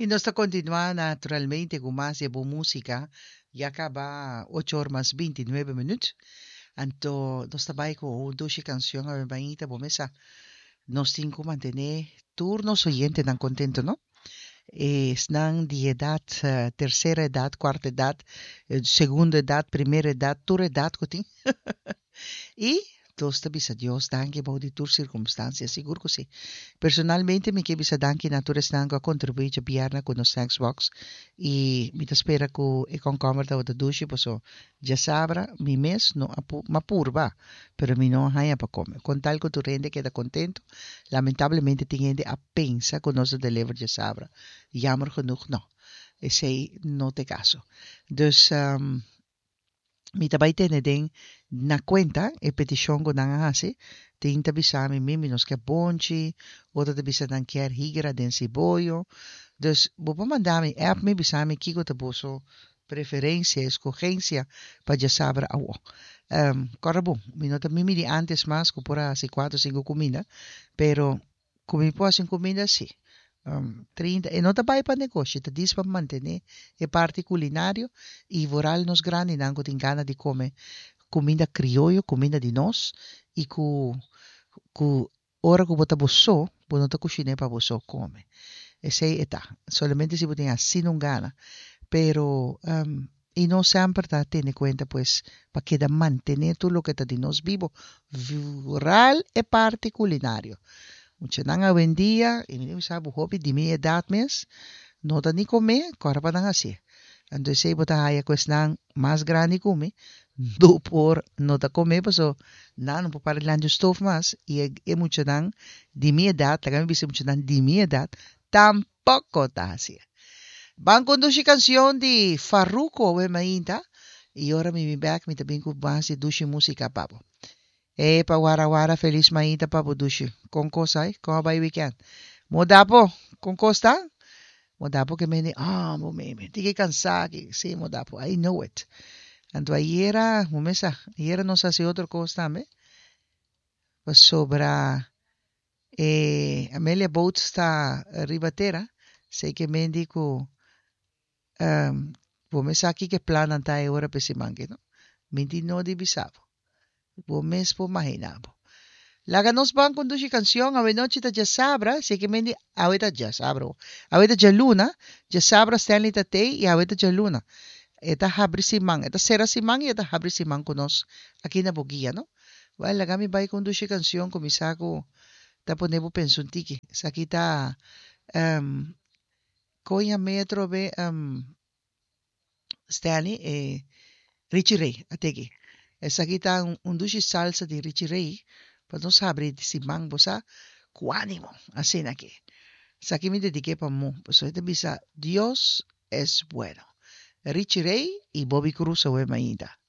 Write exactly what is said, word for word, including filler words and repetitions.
I nos ta kontinuá naturalmente ku mas di bon músika. Ya kaba ocho or mas binti nuebe minüt. Anto nos ta bai ku un dushi kanshon awe mainta. Bo mesa nos tin ku mantené tur nos oyentenan kontentu, no? Esnan di edat, tersera edat, kuarta edat, segunda edat, primera edat, tur edat ku tin. I nos ta bisa Dios danki bou di tur sirkumstansia, sigur ku si. Personalmente mi ke bisa danki na tur esnan ku a kontribuí djabièrnè ku nos snacks box i mi ta spera ku e kònkòmber tabata dushi paso djasabra mi mes no a m'a purba pero mi no a haña pa kome. Kon tal ku tur hende keda kontentu, lamentablemente tin hende a pensa ku nos a deliver djasabra, jammer genoeg no, esei no ta e kaso. Dus. Mi ta bai tene den na kuenta e petishon ku nan a hasi. Tin ta bisa mi, Mimi, nos kier bonchi, otro ta bisa nan kier higra den siboyo. Dus bo por manda mi app mi bisa mi kiko ta boso preferensia, eskogensia pa djasabra awo. Kòrda bon, mi no ta mimi di antes mas ku por a hasi kuater o sinku kuminda, pero ku mi por hasi un kuminda si. Trinta, e no ta bai pa negoshi, ta dis pa mantené e parti kulinario i vooral nos grandinan ku tin gana di kome kuminda krioyo, kuminda di nos i ku ku ora ku bo ta bo so, bo no ta kushiné pa bo so kome. Esei e ta, solamente si bo tin asina un gana. Pero i nos semper ta tene kuenta pues pa keda mantené tur loke ta di nos bibo, vooral e parti kulinario. Muchanan awendia, i mi ta bisa bo hopi di mi edat mes, no ta ni komé, kòrda pa nan hasié. Anto esei bo ta haya ku esnan mas grandi ku mi no por no ta komé paso nan no por para dilanti un stof mas i e e muchanan di mi edat, laga mi bisa e muchanan di mi edat, tampoko ta hasié. Ban kondushi kanshon di Farruko awe mainta i ora mi bin bèk mi ta bin ku mas di dushi músika pa bo. Epa wara wara felis mainta pa bo dushi. Kon kos ai? Kon a bai weekend? Modapo, kon kos ta? Modapo ke mende, ah bo meme, tiki kansa aki. Sí Modapo, I know it. Anto ayera, bo mes sa, ayera nos hasi otro kos tambe, pasobra e Amelia Boats ta riba tera, esei ke mende ku bo mes sa kiko e plannan ta e ora pa e siman aki, no? Mi tin no di bisa bo. Bo mes por maginá bo. Laga nos ban ku un dushi kanshon. Awe nochi ta djasabra, si ke mendi awe ta djasabra ho. Awe ta djaluna, djasabra Stanley ta tei i awe ta djaluna. E ta habri siman, e ta sera siman i e ta habri siman ku nos aki na Boguia, no? Wèl, laga mi bai ku un dushi kanshon ku mi sa ku ta pone bo pensa un tiki. Esaki ta Koña Metro be Stanley e Richie Ray a teki. Esaki ta un dushi salsa di Richie Ray pa nos habri di siman bo sa ku animo asina aki. Esaki mi dediké pa Mo pasobra e ta bisa Dios es bueno. Richie Ray y Bobby Cruz awe mainta.